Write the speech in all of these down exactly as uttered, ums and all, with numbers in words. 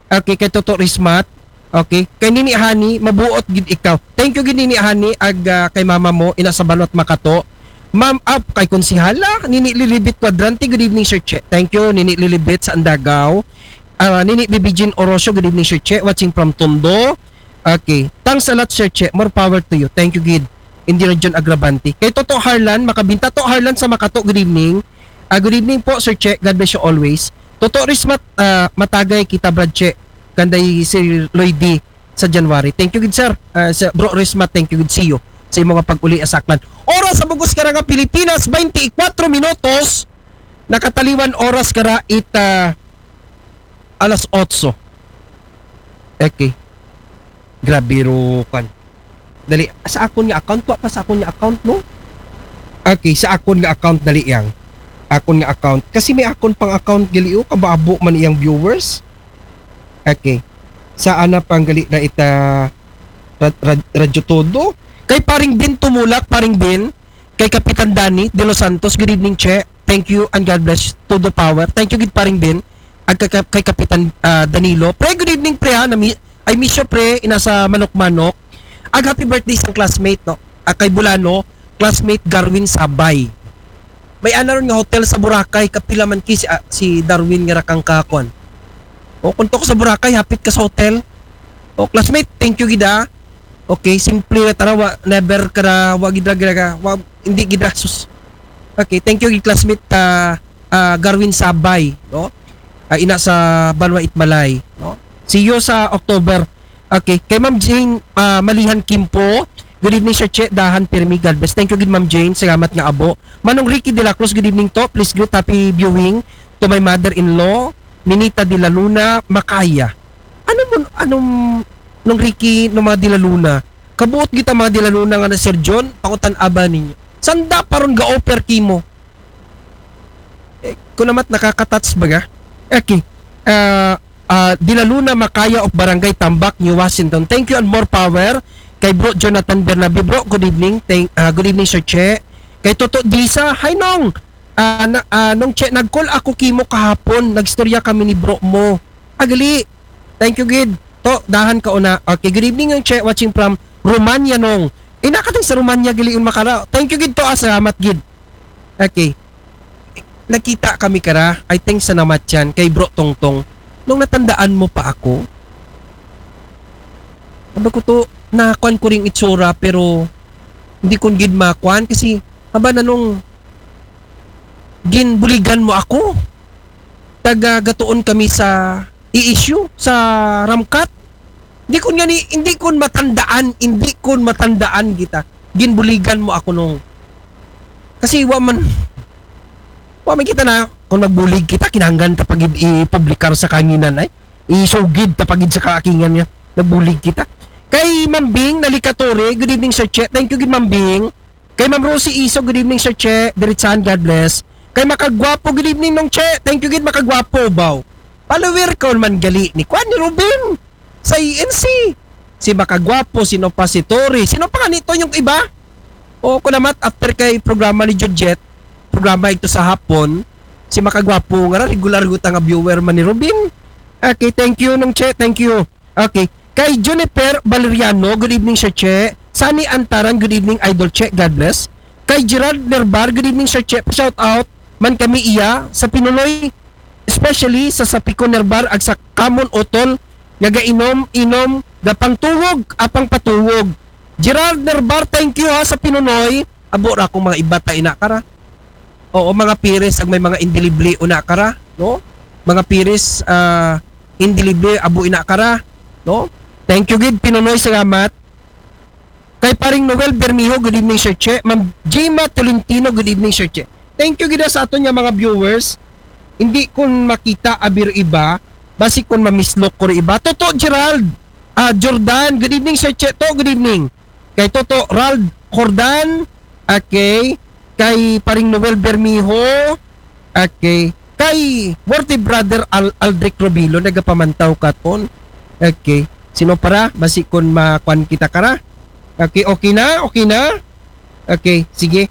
Okay, kay Toto Rismat. Okay, kay Nini Hani, mabuot gid ikaw. Thank you gid Nini Hani, ag ah, kay mama mo, ina sa Banwat Makato. Ma'am, up kay Konsihala, Nini Lilibit Cuadrante, good evening Sir Che. Thank you, Nini Lilibit sa Andagaw. Ah, Nini Bibijin Orosio, good evening Sir Che, watching from Tondo. Okay, thanks a lot Sir Che, more power to you. Thank you gid. Hindi Region Agravante. Kay Toto Harlan, makabinta to Harlan sa Makato, good evening. Ah, good evening po Sir Che, God bless you always. Toto Rismat, ah, matagay kita Brad Che, kanday Sir Lloyd D sa January. Thank you gid sir. Ah, sa Bro Rismat, thank you gid, see you sa imong pag-uli asaklan. Oras sa bugos karang Pilipinas, twenty-four minutos. Nakataliwan oras kara ita alas otso. Okay. Grabe ro kan. Dali, sa akon nga account, wa pa sa akon nga account, no? Okay, sa akon nga account, dali yang. Akon nga account. Kasi may akon pang account gali, oh, kababo man iyang viewers. Okay. Sa ana pang gali na ita rad, rad, Radyo Todo. Kay paring Bin Tumulak, paring Bin. Kay Kapitan Danny De Los Santos, good evening, Che. Thank you and God bless. Todo power. Thank you gid paring Bin. Ag kay, kay Kapitan ah, Danilo. Pre, good evening, pre, ha. Nami, I miss you, pre. Ina sa Manok-Manok. Ag happy birthday sa classmate, no? Ag kay Bulano, classmate Garwin Sabay. May ana ron nga hotel sa Boracay, kapila man ki si, ah, si Darwin nga rakang kakwan. O, kung to ko sa Boracay, hapit ka sa hotel. O, classmate, thank you gid ah. Okay, simple na tara, wa, never ka na, wa gid ra, gid ra, wa, hindi gid ra, sus. Okay, thank you gid classmate ah, ah, Garwin Sabay, no? Ah, ina sa Banwa Itmalay, no? See you sa October. Okay, kay Ma'am Jane ah, Malihan Kimpo, good evening Sir Che, dahan pirmi, God bless. Thank you gid Ma'am Jane, salamat nga abo. Manong Ricky de la Cruz, good evening to. Please greet happy viewing to my mother-in-law, Ninita de la Luna Macaya. Ano mo, anong, nung Ricky, nung mga de la Luna? Kabuot kita mga de la Luna nga na Sir John, pangutan-a ba ninyo. Sanda pa ron ga-offer kimo. Eh, kunamat nakaka-touch baga. Okay. Ah, ah, de la Luna Macaya of Barangay Tambak, New Washington. Thank you and more power kay Bro Jonathan Bernabe. Bro, good evening. Thank, ah, good evening, Sir Che. Kay Toto Disa, hi Nong. Ah, na, ah, Nong Che, nag-call ako kimo kahapon. Nagstorya kami ni bro mo. Agali. Thank you gid. To, dahan ka una. Okay, good evening Nong Che, watching from Romania Nong. Ina ka sa Romania gali un makara. Thank you gid to, ah, salamat gid. Okay. Nakita kami kara, I think sa Namatyan, kay Bro Tongtong. Nung natandaan mo pa ako? Sabi ko to, nakuan ko ring itsura, pero hindi ko gid makuan kasi haba na nung ginbuligan mo ako. Taga gatuon kami sa i-issue sa Ramkat. Hindi ko nga ni, hindi ko matandaan, hindi ko matandaan kita. Ginbuligan mo ako nung. Kasi wa man, wa man kita na, kung nagbulig kita, kinahanglan ta pagid ipublikar sa kanginan ay. Isugid ta pagid sa kakingan niya. Nagbulig kita. Kay Mambing, Nalikatore, good evening Sir Che. Thank you, good Mambing. Kay Ma'am Rosie Iso, good evening Sir Che. Diritsahan, God bless. Kay Makagwapo, good evening Nong Che. Thank you, gid Makagwapo, baw. Follower ka man gali ni Kwan ni Robin. Sa E N C. Si Makagwapo, sino pa si Tori. Sino pa kanito yung iba? O, kunamat, after kay programa ni Jujet, programa ito sa hapon, si Makagwapo, nga regular guta nga viewer man ni Robin. Okay, thank you, Nong Che, thank you. Okay, kay Juniper Valeriano, good evening, Sir Che. Sunny Antaran, good evening, Idol Che, God bless. Kay Gerald Nerbar, good evening, Sir Che. Shout out man kami iya sa Pinunoy, especially sa Sapiko Nerbar ag sa Kamon Otol nga gainom-inom, gapangtuwog, apang patuwog. Gerald Nerbar, thank you ha sa Pinunoy. Abo ra akong mga ibata ina kara. Oo, mga piris ag may mga indelible una kara, no? Mga piris ah, indelible abo ina kara, no? Thank you gid Pinunoy, salamat. Kay paring Noel Bermijo, good evening Sir Che. Ma'am Jema Tolentino, good evening Sir Che. Thank you gid sa aton nga mga viewers. Hindi kun makita abi ro iba, basi kun mamislok ko ro iba. Toto Gerald, ah, Jordan, good evening Sir Che. To, good evening. Kay Toto Rald Jordan, okay. Kay paring Noel Bermijo, okay. Kay worthy brother Al Aldric Robilo, nagapamantaw katon. Okay. Sino para? Basi kun makuan kita kara. Okay, okay na? Okay na? Okay, sige.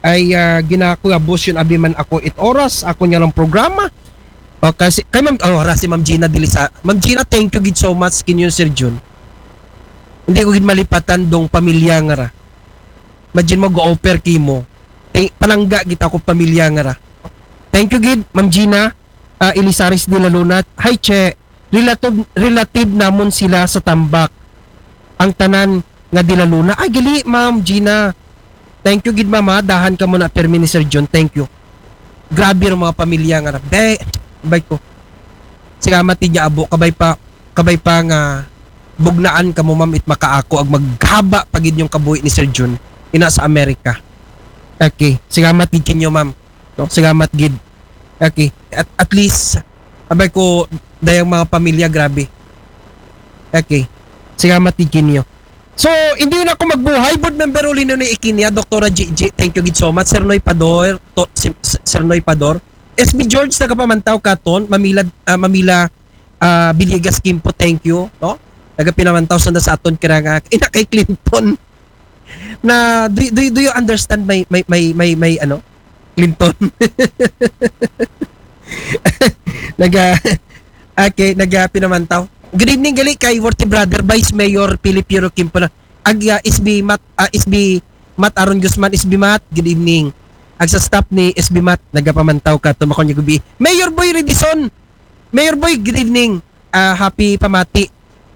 Ay, ah, ginako abos yun, abi man ako it oras, ako niya lang programa. O, kasi, kay Ma'am, o, ra si Ma'am Gina dili sa, Ma'am Gina, thank you gid so much kinyo, Sir Jun. Hindi ko gid malipatan dong pamilya nga ra. Imagine mo, go-offer kimo. Thank, palangga gid ako pamilya nga ra. Thank you gid, Ma'am Gina, ah, Elisaris de la Luna. Hi, Che. Relative, relative namon sila sa Tambak. Ang tanan nga de la Luna. Ay, gali, Ma'am Gina. Thank you gid, Ma'am, ha. Dahan ka mo na permi ni Sir John. Thank you. Grabe ang mga pamilya nga ra. Be, bay ko. Salamat gid niya, abo. Kabay pa, kabay pa nga bugnaan ka mo, Ma'am, it makaako ag maghaba pa gid yung kabuhi ni Sir Jun. Ina sa Amerika. Okay. Salamat gid kinyo, Ma'am. No? Salamat gid. Okay. At, at least, abay ko, dayang mga pamilya, grabe. Okay. Salamat gid kinyo. So, hindi na ako magbuhay. Board member uli na ni Ikinia, Doktora G G. Thank you gid so much. Sir Noy Pador, to, si, si- Sir Noy Pador. S B George, nagapamantaw katon. Mamila, ah, Mamila ah, Villegas Kimpo, thank you. No? Nagapinamantaw sa sa aton kira nga, ina kay Clinton. Na, do, do, do you understand my, my, my, my, my ano? Clinton. Naga, okay, naga pinamantaw. Good evening, gali kay Worthy Brother, Vice Mayor Philip Piro Kimpo na. Ag, ah, S B Mat, ah, S B Mat Aaron Guzman, S B Mat, good evening. Ag sa staff ni S B Mat, nagapamantaw katon makon niya gabi. Mayor Boy Redison, Mayor Boy, good evening. Ah, happy pamati.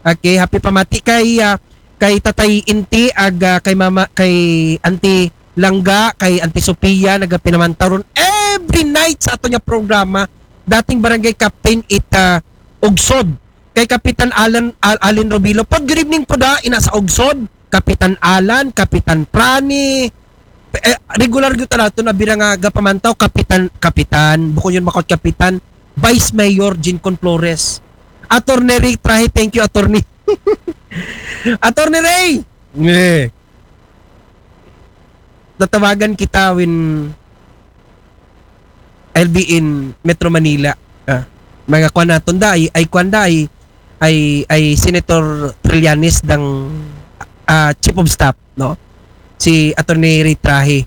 Okay, happy pamati kay, ah, kay Tatay Inti, ag, ah, kay Mama, kay Auntie Langga, kay Auntie Sophia, nagapinamantaw ron every night sa ato niya programa. Dating barangay captain it, ah, Ugsod. Kay Kapitan Alan, Al-, Alin Robilo. Pod, good evening po da, ina sa Ugsod. Kapitan Alan, Kapitan Prani. Eh, regular gyud talaga to na bira nga gapamantaw, Kapitan, Kapitan, bukon yun makot Kapitan, Vice Mayor Jincon Flores. Attorney Ray Trahe, thank you, Attorney. Attorney Ray! Eh. Tatawagan kita when I'll be in Metro Manila. Ah, mga kwan naton da, ay, ay kwan da, ay, ay, ay Senator Trillanes dang, ah, Chief of Staff, no? Si Attorney Ray Trahe.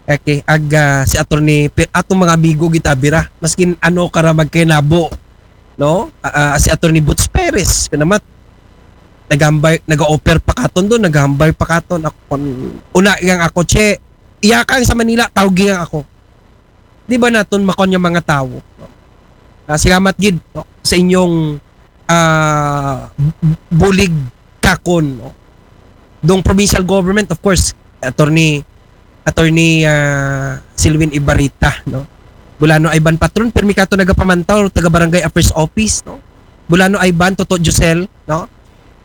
Okay, ag, ah, si Attorney, pi-, atong mga amigo gid ta bira. Maskin ano ka ra magkainabo, no? Ah, ah, si Attorney Boots Perez, kanamat. Nagambay, nag-offer pa katon doon, naghambay pa katon. Ako, kun-, una yang ako, che, iya ka sa Manila, tawgi yang ako. Di ba naton makon yung mga tao? Ah, salamat gid, no, sa inyong, ah, b-, bulig kakon, no? Dong provincial government, of course, Attorney, Attorney, ah, Silwin Ibarita, no? Bulano Ivan Patron, permi kato nagapamantaw, taga Barangay Affairs Office, no? Bulano Ivan, Toto Josel, no?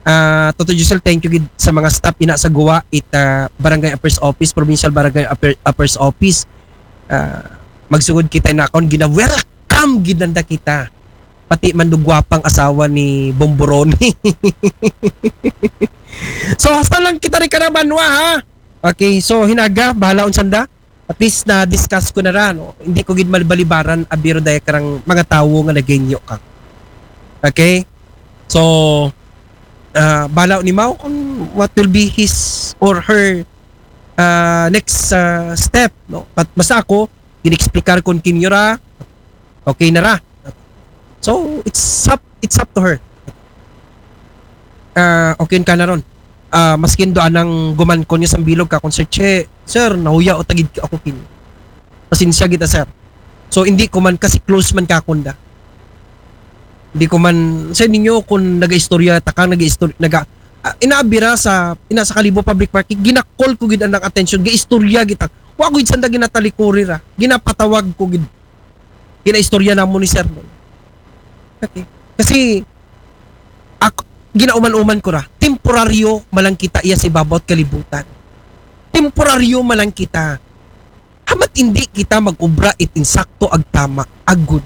Ah, Toto Josel, thank you gid sa mga staff ina sa Guwa, it, ah, Barangay Affairs Office, Provincial Barangay Affair-, Affairs Office. Ah, magsugod kita na akon, gina-welcome gid nanda kita. Pati man do gwapang asawa ni Bomboroni. So, hasta lang kita rin kanabanwa, ha? Okay, so, hinaga, bahala on sanda. At least na-discuss ko na ra, no? Hindi ko gid malibalibaran, abiro daya karang mga tawo nga nagenyo ka. Okay? So, ah, bahala ni Mao kung what will be his or her, ah, next, ah, step, no? But basta ako, gin-explicar ko kinyo ra, okay na ra. So, it's up, it's up to her. Ah, okay ka na ron. Ah, maskin do anang guman ko niya sa bilog ka, kung, "Sir Che, sir, nahuya o tagid ako kin." Pasensya kita, sir. So, hindi ko man, kasi close man ka kunda. Hindi ko man, sa ninyo, kung nag-istorya, takang nag-istorya, naga, ah, inaabira sa, ina sa Kalibo Public Market, ginakol ko gid ang attention, ga-istorya kita. Wa ko gid sanda ginatalikuri ra. Ginapatawag ko gid. Ginaistorya namo ni Sir Noy. Okay. Kasi, ak-, ginauman-uman ko ra, temporaryo malang kita iya sa ibabaw at kalibutan. Temporaryo malang kita. Hamat hindi kita mag-ubra it insakto ag tama, ag good.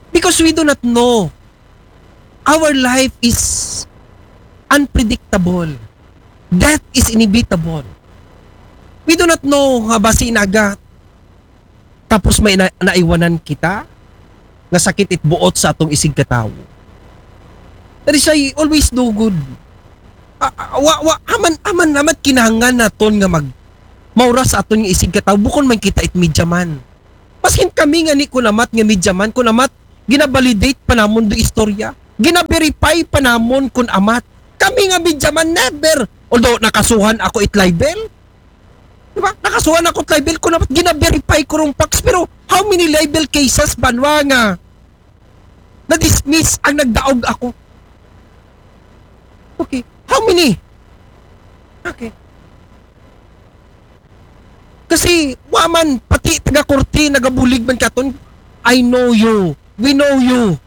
Because we do not know. Our life is unpredictable. Death is inevitable. We do not know nga basi naga tapos may na-, naiwanan kita nga sakit it buot sa atong isig katawo. That is why always do good. Ah, ah, wa, wa, aman, aman, aman kinahanglan naton nga mag-, maura sa aton nga isig katawo. Bukon man kita it media man. Maskin kami nga ni kunamat nga media man, kunamat, ginabalidate pa namon do istorya. Ginaverify pa namon kun amat. Kami nga media man, never. Although, nakasuhan ako it libel. Diba? Nakasuhan ako it libel, kunamat, ginaverify ko rong facts. Pero, how many libel cases ba nga na-dismiss ang nagdaog ako? Okay. How many? Okay. Kasi, wa man, pati taga-korte, nagabulig man katon. I know you. We know you.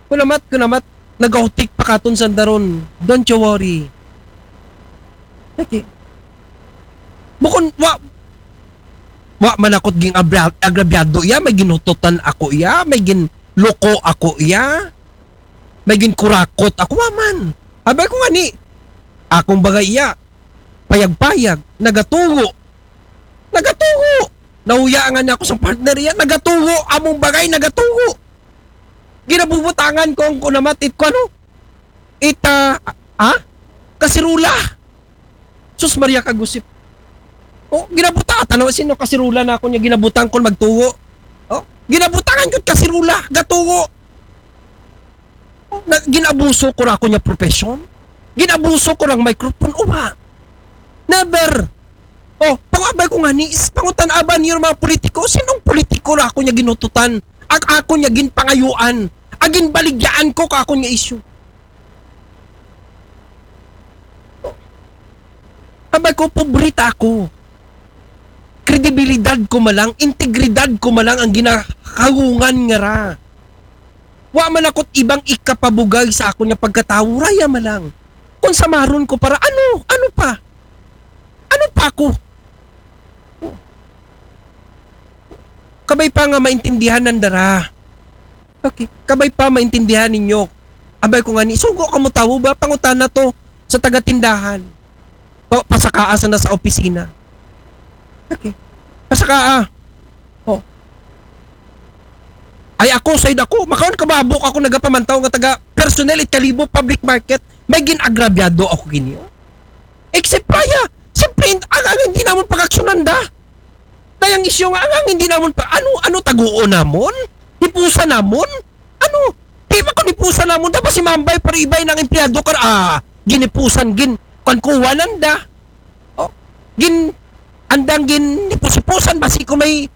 Kunamat, kunamat, nagautik pa katon sa daron. Don't you worry. Okay. Bukon, wa, wa man ako't ging abra-, agrabyado iya, may ginututan ako iya, may ginloko ako iya, may ginkurakot ako, wa man. Abay ko nga ni, akong bagay iya, payag-payag, nagatugo. Nagatugo. Nahuya nga niya ako sa partner iya, nagatugo. Among bagay, nagatugo. Ginabubutangan ko ang kunamat, it ko ano? It, ah, ah? Kasirula. Sus Maria Kagusip. Oh, ginabuta, tanaw sino kasirula na ako niya, ginabutang ko magtugo. Oh, ginabutangan ko kasirula, gatugo. Oh, na, ginabuso ko ra ako niya profession. Ginabuso ko rang microphone, uwa. Never. Oh, pangabay ko nga ni, is, pangutan-aban niyo mga politiko, sinong politiko ra ako niya ginututan? Ag ako niya ginpangayuan. Agin baligyaan ko ka ako niya issue. Abay ko, pobrita ako. Kredibilidad ko malang, integridad ko malang ang ginahagungan nga ra. Wa man ako't ibang ikapabugay sa ako niya pagkatawo, raya malang. Kung samaron ko para, ano? Ano pa? Ano pa ako? Kabay pa nga maintindihan ng dara. Okay. Kabay pa maintindihan ninyo. Abay ko nga ni, sugo ka mo tawo ba? Pangutana to sa taga-tindahan. Pa, pasakaa sa nasa opisina. Okay. Pasakaa. Oh. Ay ako, side ako. Makaon ka ba? Buk ako nagapamantaw nga taga personnel it Kalibo Public Market. May ginagrabyado ako ginyo. Except pa ya. Siyempre, ang, ang hindi namon pag-aksyonan da. Dayang isyu nga, ang, ang hindi namon pa, ano, ano taguon namon? Hipusan namon? Ano? Di ba kung hipusan namon, dapat si Mambay para ibay ng empleyado kar, ah, ginipusan, gin, kwan kuwanan da. Oh, gin, andang gin, hipusipusan, basi kung may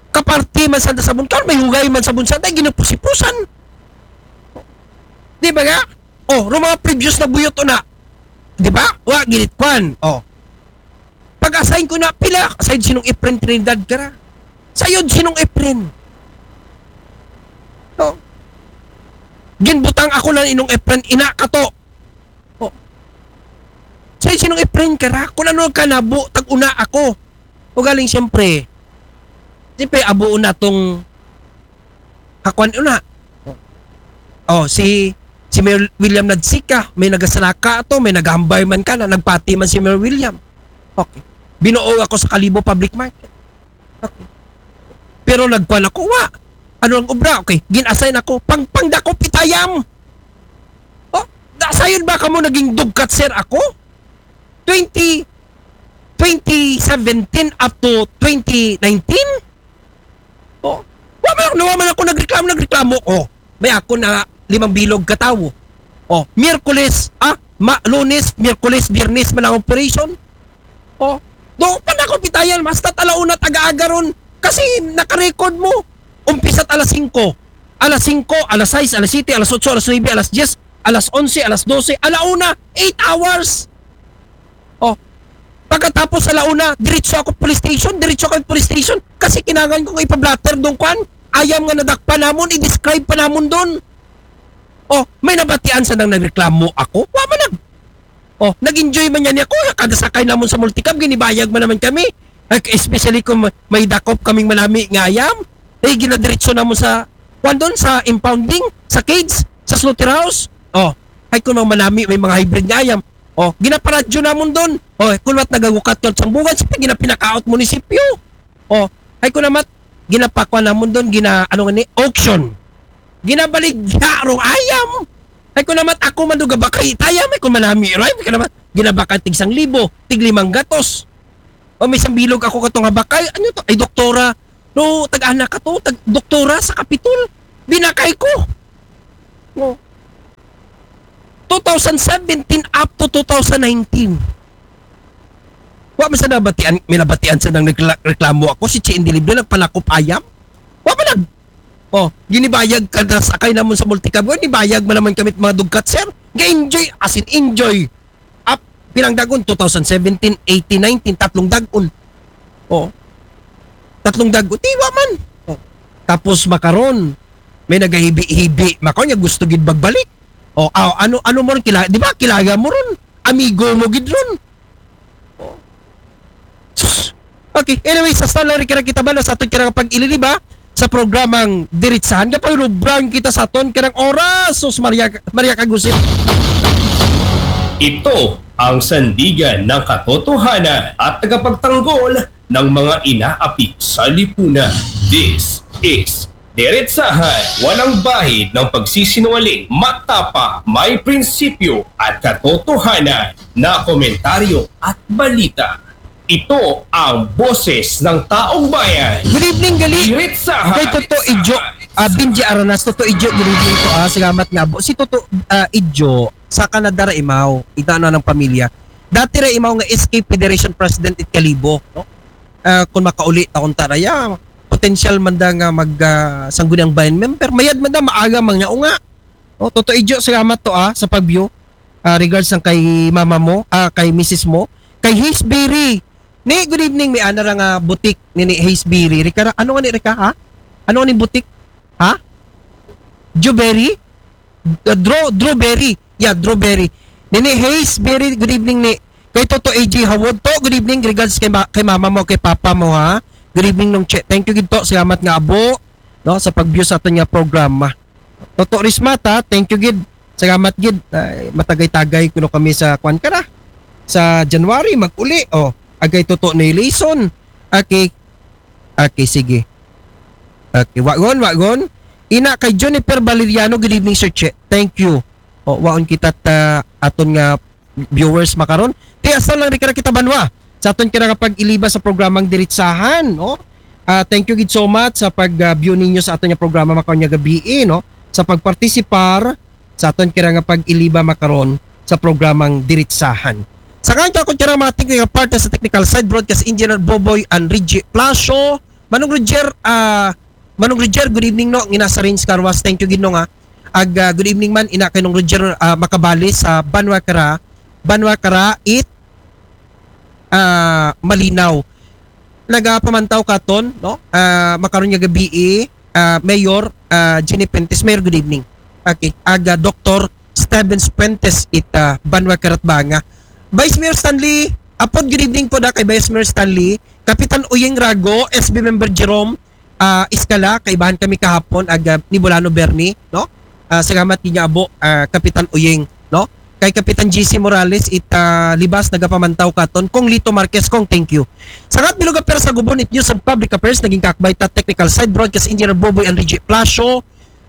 kaparte man sa sabon, kar may hugay man sabon sa, dahil ginipusipusan. Di ba nga? Oh, ro mga previous na buyot na. Di ba? Wa, ginit kwan. Oh. Pag-assign ko na, pila, aside sinong Efren Trinidad ka ra. Sayod sinong Efren. Oh. Ginbutang ako na inong Efren, ina ka to. Oh. Sayod sinong Efren ka ra. Kung ano ka nabo, tag-una ako. O galing siyempre. Siyempre, abo na tong kakuan una. Oh, si si Mayor William nagsika, may nagasalaka ato, may nagahambay man ka na, nagpati man si Mayor William. Okay. Binuo ako sa Kalibo Public Market. Okay. Pero nagkuan ako, wa. Ano ang obra? Okay, gin-assign ako, pang, pangdakop it ayam. Oh, da, sayon ba kamo naging dugkat, sir, ako? Twenty, twenty seventeen up to twenty nineteen? Oh, wa man, wa man ako nagreklamo, nagreklamo. Oh, may ako na limang bilog katawo. Oh, Miyerkules, ah, ma, Lunes, Miyerkules, Biyernes man ang operation. Oh, do pa na ako pitayan, basta alauna taga-aga ron. Kasi nakarecord mo, umpisa't alas singko. Alas singko, alas sais, alas siyete, alas otso, alas nuebe, alas dyes, alas onse, alas dose, alauna, eight hours. Oh, pagkatapos alauna, diretso ako police station, diretso ako police station. Kasi kinangan ko nga ipablatter doon, kwan. Ayam nga nadakpan namon, i-describe pa namon doon. Oh, may nabatian sa nang nagreklamo ako. Wa man nag-, oh, nag-enjoy man yan ako. Kada sakay namon sa multicab, ginibayag man naman kami. Like, especially kung ma-, may dakop kaming malami nga ayam. Eh, ginadiretso namon sa, kwan doon, sa impounding, sa cage, sa slaughterhouse. Oh, ay kung mga malami, may mga hybrid nga ayam. Oh, ginaparadyo namon doon. Oh, kung wat nagagukat ka sa bungan, siyempre, ginapinakaot munisipyo. Oh, ay kung namat, ginapakwa namon doon, gina, ano nga ni, auction. Ginabaligya rong ayam. Ay kung namat, ako man doon gabakay, it ayam, ay kung malami, right? Ay kung namat, ginabakay tig sang libo, tig limang gatos. O may isang bilog ako katong habakay, ano to? Ay, doktora, No, tag-ana ka to, tag doktora sa Kapitol. Binakay ko. No. Two thousand seventeen up to two thousand nineteen. Wa man sa nabatian, may nabatian sa nang nagla-, reklamo ako, si Chi Indilibyo nagpalakop ayam. Wa man nag-, oh, ginibayag ka na sakay namon sa multicab. Wa, nibayag man naman kami mga dugkat, sir. Ga-enjoy, as in enjoy. Up, pilang dagon, two thousand seventeen, eighteen, nineteen, tatlong dagon. Oh. Tatlong dagon. Di wa man. Oh. Tapos makaron, may nagahibi-hibi. Makaw niya gusto gid magbalik. Oh, aw, ano, ano mo ron kila-, di ba? Kilala mo ron. Amigo mo gid ron. Oh. Sus. Okay, anyway, sa star lang rin kita ba na sa aton karang pag-ililiba sa programang Diritsahan. Kapag rubrang kita sa aton karang oras. Sus, Maria, Maria Kagusip. Ito ang sandigan ng katotohanan at tagapagtanggol ng mga inaapi sa lipunan. This is Diretsahan, walang bahid ng pagsisinungaling, matapa, may prinsipyo at katotohanan na komentaryo at balita. Ito ang boses ng taong bayan. Good evening, gali. Diretsahan. Kay Toto Ijo, ah, Benji Aranas, Toto Ijo, good evening po. Ah, salamat nga po. Si Toto ah, Ijo, sa Canada ra imaw, ita na ng pamilya. Dati ra imaw nga S K Federation President it Kalibo, no? Ah, kung makauli ta kung taraya, potential man da nga mag ah, sangguniang bayan member, mayad man da, maaga man nga unga. Oh, Toto Ijo, salamat to ah, sa pag-view. Ah, regards ang kay mama mo, ah, kay misis mo, kay Hazeberry. Ni, good evening, may ana ra nga butik ni, ni Hazeberry. Rika, ano nga ni Rika, ha? Ano nga ni butik? Ha? Juberry? Uh, Drew, Drewberry. Yeah, Drewberry. Nini Hazeberry, good evening ni. Kay Toto A J Hawod to, good evening. Regards kay, ma- kay mama mo, kay papa mo, ha? Good evening, Nong Che. Thank you gid to. Salamat nga abo, no, sa pag-view sa aton nga programa. Toto Rismata, thank you gid. Salamat gid. Ay, matagay-tagay kuno kami sa kwan ka na. Sa January, mag-uli. Oh, agay Toto ni Lison. Okay. Okay, sige. Okay, wagon, wagon. Ina kay Juniper Valeriano, good evening, Sir Che. Thank you. O, waon kita ta aton nga viewers makaron. Ti, hasta lang rin kita banwa. Sa aton kira nga pag-iliba sa programang Diritsahan, no? Ah, thank you gid so much sa pag-view ninyo sa aton nga programa makaron nga gabi, no? Sa pagpartisipar sa aton kira nga pag-iliba makaron sa programang Diritsahan. Sa kanya ko kira mga tingin nga partner sa technical side, broadcast engineer Boboy and Reggie Plasio. Manong Roger, ah, Manong Roger, good evening, no? Ngina sa Rains Carwas, thank you gid, no, nga. Ag, ah, good evening man, ina kay Nong Roger, ah, Makabali sa Banwa Kara, Banwa Kara, it, ah, Malinaw. Nagapamantaw katon, no? Ah, makaron nga gabi, ah, Mayor, ah, Jenny Pentes. Mayor, good evening. Okay, ag, ah, Doktor Stevens Fuentes, it, ah, Banwa Kara it Banga. Vice Mayor Stanley, apod good evening po da kay Vice Mayor Stanley, Kapitan Uyeng Rago, S B member Jerome, ah, Iskala, kaibahan kami kahapon, ag, ah, ni Bolano Bernie, no? Ah, salamat gid nga abo, ah, Kapitan Uyeng, no? Kay Kapitan G C Morales, it, ah, Libas, nagapamantaw katon. Kong Lito Marquez, Kong, thank you. Sangat Bilog Affairs sa Gubon, it News and Public Affairs, naging kakbay ta, technical side, broadcast engineer Boboy Enrique Plasio,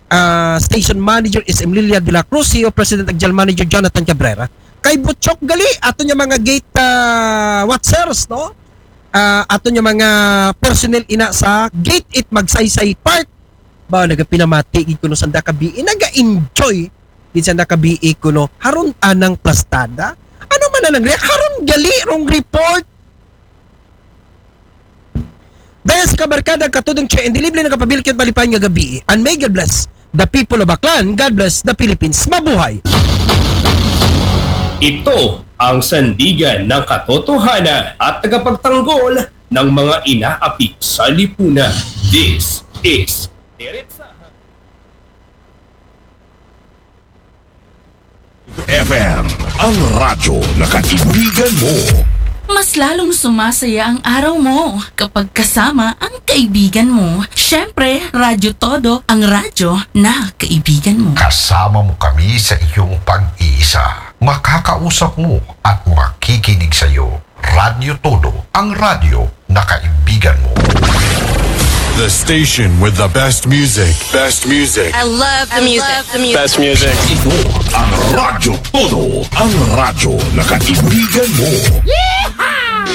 ah, station manager is Emlilia de la Cruz, C E O President ag General Manager Jonathan Cabrera. Kay Butchok gali, ato niya mga gate, ah, watchers, no? Ah, ato niya mga personnel ina sa Gate it Magsaysay Park. Ba, nagapinamati gid kuno sanda kabi, naga-enjoy gid sanda kabi kuno. Haron anang plastada. Ano man na lang, haron gali rong report. Dahil sa kabarkada, katudong Che and Delivery, nagapabilikit malipay nga gabi. And may God bless the people of Aklan. God bless the Philippines. Mabuhay! Ito ang sandigan ng katotohanan at tagapagtanggol ng mga inaapi sa lipunan. This is Diretsahan. F M, ang radyo na kaibigan mo. Mas lalong sumasaya ang araw mo kapag kasama ang kaibigan mo. Siyempre, Radyo Todo, ang radyo na kaibigan mo. Kasama mo kami sa iyong pag-iisa. Makakausap mo at makikinig sa iyo. Radyo Todo, ang radyo na kaibigan mo. The station with the best music. Best music. I love the music. Best music. Ito ang Radyo Todo, ang radyo na kaibigan mo.